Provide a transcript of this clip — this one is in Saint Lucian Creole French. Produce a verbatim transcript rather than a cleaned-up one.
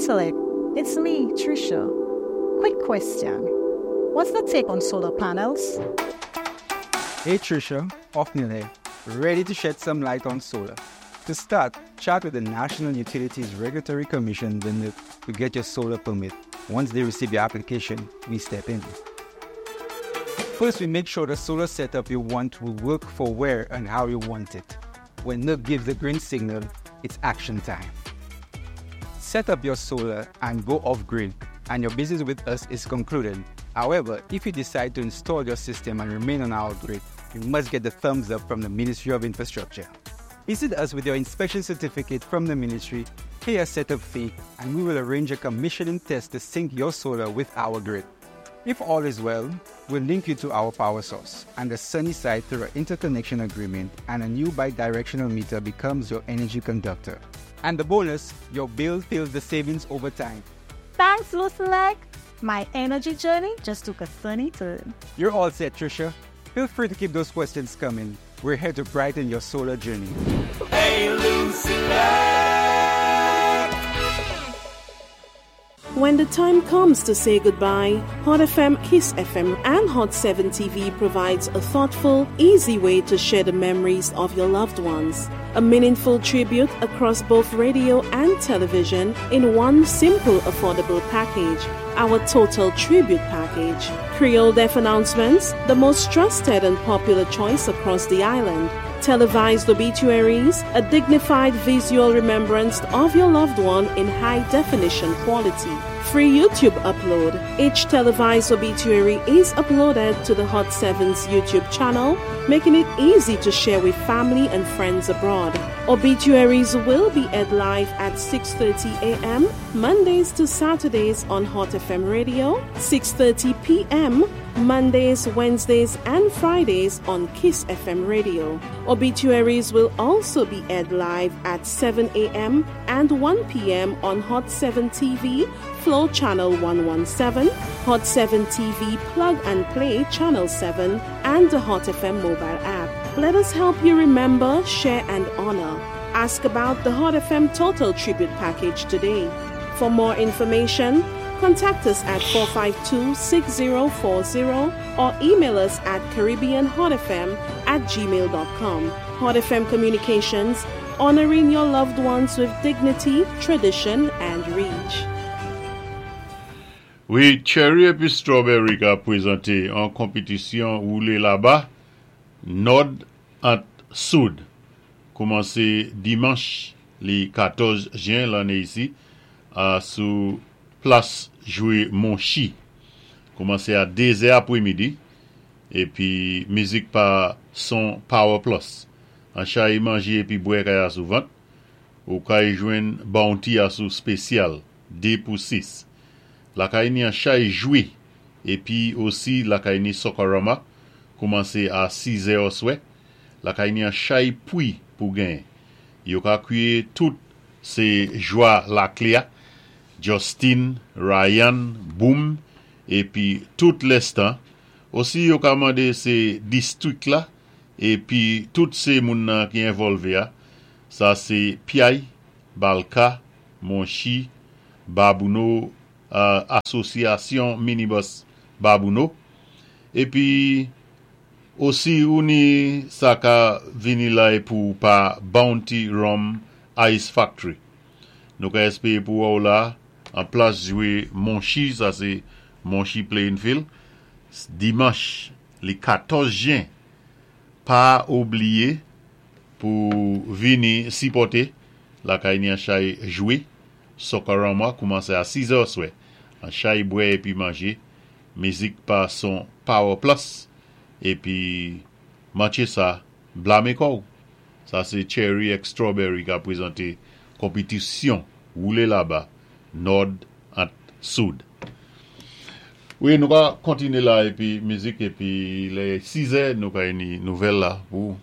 LUCELEC. It's me, Trisha. Quick question. What's the take on solar panels? Hey Trisha, Othniel here, ready to shed some light on solar. To start, chat with the National Utilities Regulatory Commission, the NURC, to get your solar permit. Once they receive your application, we step in. First, we make sure the solar setup you want will work for where and how you want it. When NURC gives the green signal, it's action time. Set up your solar and go off grid, and your business with us is concluded. However, if you decide to install your system and remain on our grid, you must get the thumbs up from the Ministry of Infrastructure. Visit us with your inspection certificate from the ministry, pay a setup fee, and we will arrange a commissioning test to sync your solar with our grid. If all is well, we'll link you to our power source and the sunny side through an interconnection agreement, and a new bi-directional meter becomes your energy conductor. And the bonus, your bill fills the savings over time. Thanks, LUCELEC. My energy journey just took a sunny turn. You're all set, Trisha. Feel free to keep those questions coming. We're here to brighten your solar journey. Hey, LUCELEC! When the time comes to say goodbye, Hot F M, Kiss F M, and Hot seven T V provides a thoughtful, easy way to share the memories of your loved ones. A meaningful tribute across both radio and television in one simple, affordable package. Our Total Tribute Package. Creole Death Announcements, the most trusted and popular choice across the island. Televised obituaries, a dignified visual remembrance of your loved one in high definition quality. Free YouTube upload. Each televised obituary is uploaded to the Hot seven's YouTube channel, making it easy to share with family and friends abroad. Obituaries will be aired live at six thirty a m. Mondays to Saturdays on Hot F M Radio, six thirty p m. Mondays, Wednesdays, and Fridays on Kiss F M Radio. Obituaries will also be aired live at seven a m and one p m on Hot seven T V, Flow Channel one one seven, Hot seven T V Plug and Play Channel seven, and the Hot F M mobile app. Let us help you remember, share, and honor. Ask about the Hot F M Total Tribute Package today. For more information, contact us at four five two, six zero four zero or email us at caribbeanhotfm at gmail dot com. Hot F M Communications, honoring your loved ones with dignity, tradition, and reach. Wi, Cherry épi Strawberry ka pwézanté an konpitisyon woulé laba, Nòd ant Soud. Koumansé dimanch li katòz jen lanné isi, a sou plas jwé Monchi. Koumansé a dé zè apwémidi, épi mizik pa son Power Plus. An chay manjé épi bwè kay asou vant, ou kay jwenn Bounty asou spésyal, dé pou sis. Lakay ni an chay jwé, épi osi lakay ni Sokorama, koumansé a sis zè oswè, lakay ni an chay pwi pou genyen. Yo ka kwiyé tout sé jwa Laklé, Justin, Ryan, Boom, épi tout lèstan. Osi yo ka mandé sé distwik la, épi tout sé moun nan ki envòlvé a. Sa sé Piaye, Balka, Monchi, Babouno, Asosyasyon Minibus Babouno. Épi osi ou ni sa ka vini la é pou pa Bounty Rum Ice Factory. Nou ka éspéwé pou wè ou la an plas jwé Monchi, sa sé Monchi Playing Field, dimanch li katòz jen. Pa oubliyé pou vini sipòté lakay ni an chay jwé, Sokorama koumansé a sis zè oswè. An chay bwè épi manjé, mizik pa son Power Plus, épi manché sa, blamé kò'w. Sa sé Cherry ek Strawberry ka pwézanté konpitisyon woulé laba, Nòd ant Soud. Wi, nou ka kontiné la épi mizik épi lè sis zè, nou ka ni nouvèl la pou.